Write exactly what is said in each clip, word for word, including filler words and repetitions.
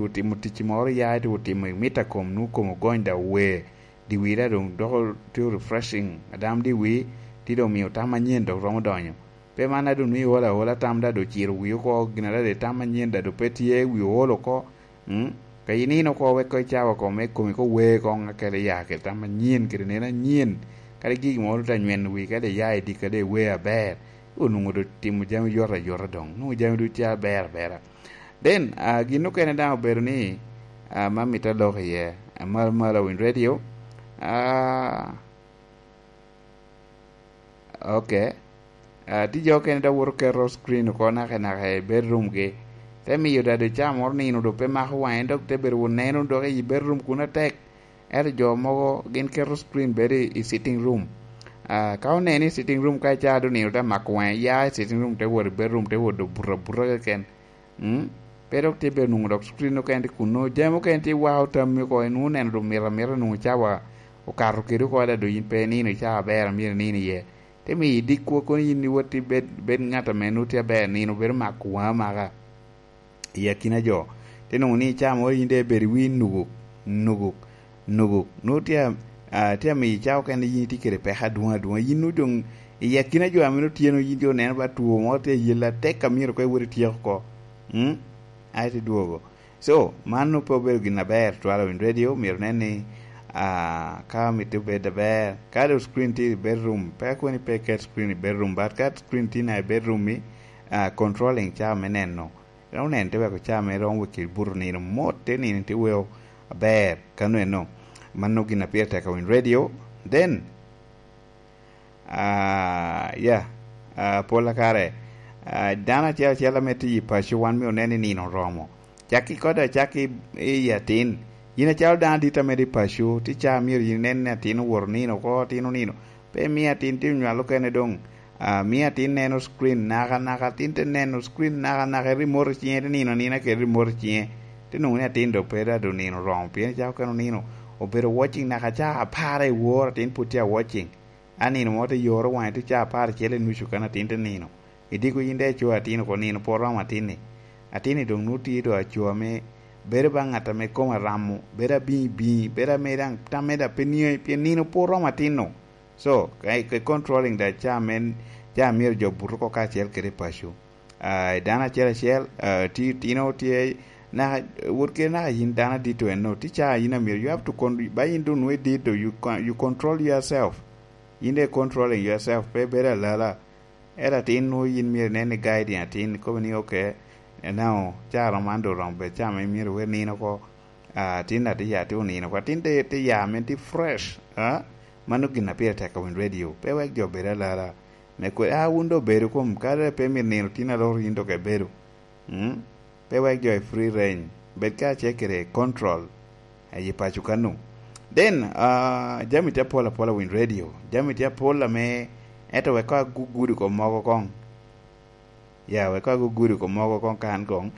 otimo tic moro ya ite otimo i mita kom nu kom ogony da ower, diwi da dong doko tye refreshing adam diwi, ti dong miyo tam manyen dok romo donyo. Pe man adu ni ola ola tam da do ciro wi oko gin ada de tam manyen da do pe tye wi olo oko. Mm? Ka inino oko wek ko icawa ko me komi ko wer ko ŋa kede ya kede tam manyen kede neno anyen. Kadi gigi moro ta nyweno wi kede ya i dika de wer aber. Onungo do timo jami yot ayota dong nungo jami du ca aber abera. Then uh, gin okene daŋ obedo ni uh, ma mita lok iye, uh, mal mal awin radio. Uh, ok. Uh, ti jo okene da woto keto screen oko naka naka i bedroom gi, te miyo dado ca moro nino do pe mako wange dok te bedo neno dok i bedroom kun atek. Ento jo mogo gin keto screen bedo i, i sitting room. Uh, ka oneno i sitting room ka icaa do nino te mako wange ya i sitting room te wot i bedroom te wot do buta buta keken. Mm? Pe dok tye bedo nwoŋo dok screen okene tye kunno jami okene tye wao tammi oko inwoŋo neno dong mito amita nwoŋo cawa okato kede oko ada dong in pe inino i cawa aber a myero inino iye. Te miyo idikwa kono in iwot ibed bed ŋat ame nwoŋo tye aber nino bedo mako waŋa maka i akina jo. Te nwoŋo ni cawa moro in de ibedo iwi nuguk nuguk nuguk nwoŋo tye a- a- tye amiyo cawa okene in itye kede peko adwoŋ adwoŋ in nwoŋo dong i akina jo ame nwoŋo tye nwoŋo in jo neno ba two mo tye ayel atek a myero ko iwot ityeko oko. Mm? Aye te dwogo. So man nwoŋo pe obedo gin aber twala win radio myero nen ni ah, ka mitte obed aber ka do screen tye i bedroom pe koni pe ket screen i bedroom but ka screen tye na i bedroom mi ah, controlling cawa me neno. Romo neno te weko cawa me romo weki buto nino mot te nino te weo aber kano eno. Mano gin a pire tek awin radio then Ah, ya ah, pola kare ah, dano acel acel ame tye i paco wan myero onen ni nino oromo. Cakki kode acakki i atin. Yin acalo dano adit ame tye i paco, tye caa myero yin inen ni atin owoto nino oko, atin onino. Pe imiyo atin tye onywalo kene dong. Ah, miyo atin neno screen naka naka, atin te neno screen naka naka, i remote i cinge, te nino anina kede remote i cinge. Te nwoŋo ni atin dok pe dado nino oromo, pien icako kene onino obedo watching naka caa apar i wor, atin pwod tye a watching. A nino mo te yoro waŋe tye caa apar acel i nucu kan atin te nino. Idiko yin de icoyo atin oko nino pwod romo atin-ni. Atin-ni dong nwoŋo tye do aco ame bedo ba ŋat ame kome aramo, bedo abiŋi biŋi, bedo ame daŋ tamme daŋ pe niaŋi pien nino pwod romo atin-nu. So, ka i- ka i controlling da caa men, caa myero jo buto oko kacel kede i paco. Ah, i dano acel acel, ah, ti tino tye naka wot kede naka yin dano adito eno, ti caa yin amyero you have to con- ba yin dong nwe dit do you, con- you control yourself. Yin de controlling yourself pe bedo alala. Ento atin nwo yin myero inen ni guiding atin kobo ni okay, now caro man do romo bed caro ma myero wer nino oko. Ah, atin ati ya ti onino oko atin te te ya men ti fresh. Ah, mano gin a pire tek awin radio pe wek jo bed alala. Me kwe ah wun do bedo kom kare pe myero nino tin aloro yin dok ebedo. Mm? Pe wek jo i free range bed ka ce kede control aye paco kanu. Then uh, jami tye apol apol awin radio, jami tye apol ame ento wek ka gugudo kom mogo kong. Ya wek ka gugudo kom mogo kong kan kong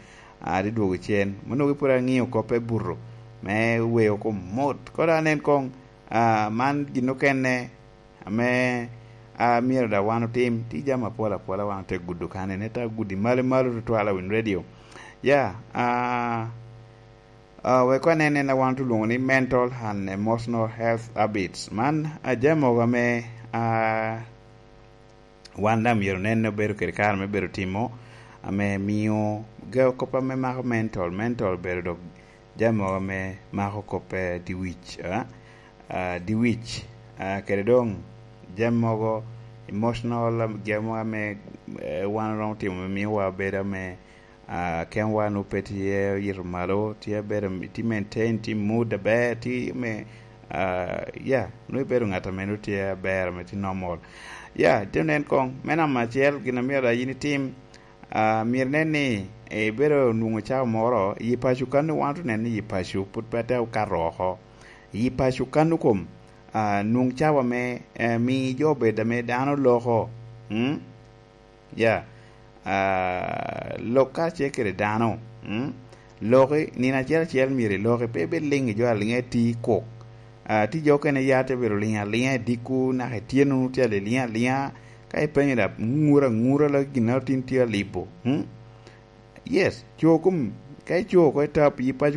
adi dwogo cen mono pud angiyo koppe buto me weyo kom mot koro anen kong. Uh, man gin okene ame a myero da wan otim ti jami apol apola wan ote gudo kane ne ta gudi malo malo tutwal awin radio. Ya a a wek wanen en a wan tulwongo ni mental and emotional health habits man a jami mogo ame a wan da myero nen ni obedo kede kare me bedo timo ame miyo ga kop ame mako mental mental bedo dok jami mogo ame mako kop pe diwic a diwic kede dong jami mogo emotional jami mogo ame wan oromo timo me miyo wa bedo ame kemwa nwo pe tye oyito malo tye bedo tye maintain tye mood aber tye me ya nwo ibedo ngat ame nwo tye aber ame tye normal ya tye nen kong me namba acel gin amyero da in itim. Ah, myero nen ni ibedo onwoŋo cawa moro i paco kano wan onen ni i paco pud pe te okato oko i paco kano kom ah, nwoŋ cawa me eh, mi jo obed ame dano loko mm? ya ah, lok kacel kede dano mm? Loki nino acel acel myero iloki pe ibed liŋ i jo aliŋa iti kok ah, ti jo okene ya te bedo liŋ aliŋa i dikku naka ityeno nwoŋo tye aliŋ aliŋa ka ipenyo da ŋur aŋura la gin a tin tye alibo hmm? Yes co kom ka ico oko i tap yi paco